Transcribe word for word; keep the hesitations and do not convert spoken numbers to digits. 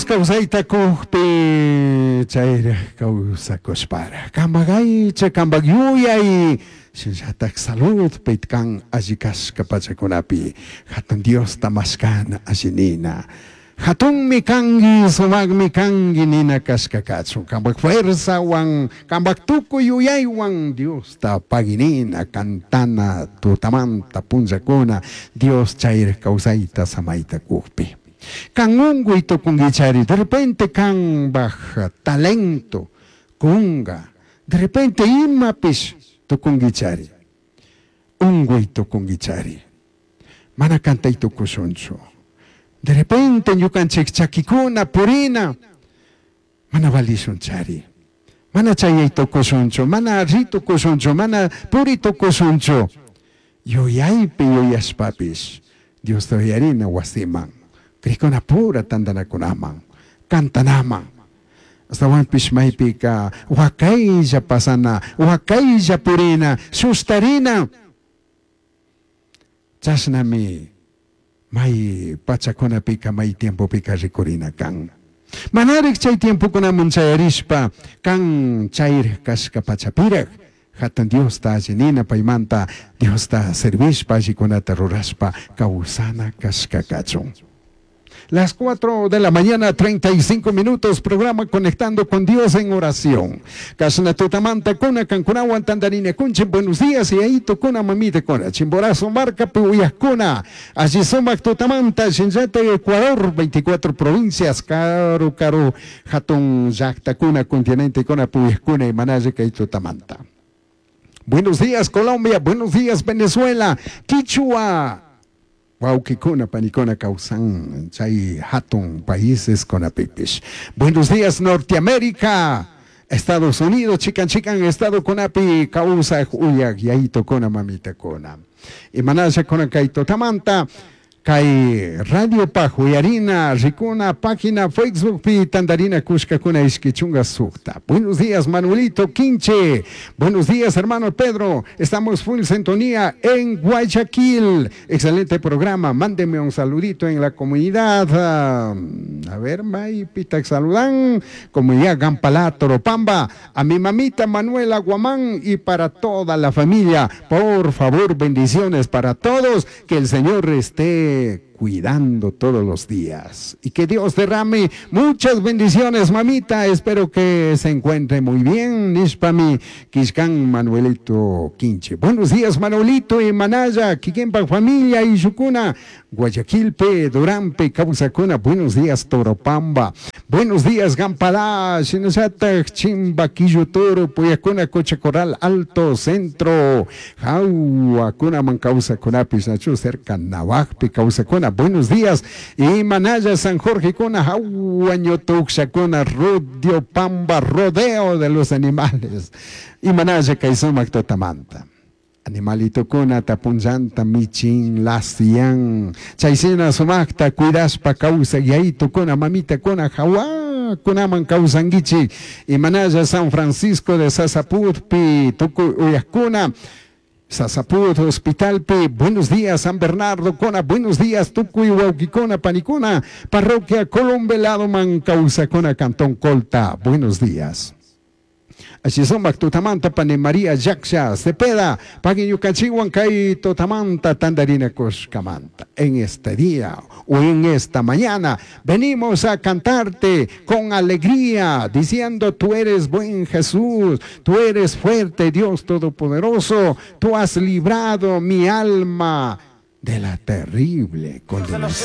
Kawsayta kukpi chayraj kawsakushpara kambak aycha kambak yuyay shinallatak saludpi kan alli kashka pachakunapi hatun Diosta mashkana alli nina hatunmi kanki sumakmi kanki nina kashka kachun kambak fuerzawan kambak tukuy yuyaywan Diosta paginina cantana tutamanta punllakuna Dios chayraj kawsayta samayta kukpi kan unkuy tukunkichari de repente kambaj talento kunga de repente imapish tukunkichari unkuy tukunkichari mana kantay tukushunchu de repente ñukanchik chakikuna purina mana valishunchari mana chayay tukushunchu mana ri tukushunchu mana puri tukushunchu yuyaypi yuyashpapish Diosta uyarina wasiman krikuna pura tantanakunaman cantanaman astawanpish maypika wakaylla pasana wakaylla purina sustarina chashnami may pachakunapika may tiempopika rikurina kan manarik chay tiempokunaman chayarishpa kan chayrik kashka pachapirak hatun Diosta allinina paymanta Diosta servishpa allikunata rurashpa kawsana kashka kachun. Las cuatro de la mañana, treinta y cinco minutos, programa Conectando con Dios en Oración. Kasna tutamanta kuna kankunawan tandarina kunchi, buenos días, y ahí tocuna mamita kuna, Chimborazo marca puyascuna, allí sumac tutamanta, Shinjate, Ecuador, veinticuatro provincias, caro, caro, hatun llaqta kuna, continente kuna, puyascuna y manaye que tutamanta. Buenos días, Colombia, buenos días, Venezuela, Quichua. Wauquicuna, panicona, causan, chay, hatun, países con apipish. Buenos días, Norteamérica, Estados Unidos, chican, chican, estado con api, causa, uyak, yaito, cona, mamita, cona. Y manaya, cona, kaito, tamanta, kay Radio Pajuyarina, Ricuna, página Facebook, pi, Tandarina, Cusca, Cuna, Isquichunga, Sucta. Buenos días, Manuelito Quinche. Buenos días, hermano Pedro. Estamos full sintonía en Guayaquil. Excelente programa. Mándeme un saludito en la comunidad. A ver, May, Pita, saludan. Comunidad Gampalá, Toropamba. A mi mamita Manuela Guamán y para toda la familia. Por favor, bendiciones para todos. Que el Señor esté cuidando todos los días y que Dios derrame muchas bendiciones, mamita. Espero que se encuentre muy bien. Nishpami Kishkan Manuelito Quinche. Buenos días, Manuelito y Manaya, Kikempa familia y Yucuna, Guayaquilpe, Durampe, Causacuna. Buenos días, Toropamba. Buenos días, Gampalá, Shinasata, Chimbaquillo Toro, Puyacuna, Cocha Corral, Alto, Centro, Jauacuna, Mancausacunapi, Nachu, cerca Navajpi, Causacuna. Buenos días, y Manaya, San Jorge, Cuna, Jauañotuxacuna, Rodio Pamba, rodeo de los animales. Y Manaya, Kaizumac, Totamanta. Animalito kuna, tapunllanta, michin, lasian. Chaysina, sumacta, cuidaspa, causa, yaito, kuna, mamita, kuna, jawa, kunaman, causanguichi. Y Manaya, San Francisco de Sasaputpi, tucu, uyascuna. Sasaput, Hospitalpi, buenos días, San Bernardo, Cona, buenos días, Tucuy, Huauquicona, Panicona, Parroquia Colombelado, Mancausa, Cona, Cantón Colta, buenos días. Así son, Tutamanta, Pane María, Yaksha, Cepeda, Paguiñucachihuan, Kai, Totamanta, Tandarina, Coscamanta. En este día o en esta mañana venimos a cantarte con alegría, diciendo: tú eres buen Jesús, tú eres fuerte, Dios Todopoderoso, tú has librado mi alma de la terrible condenación.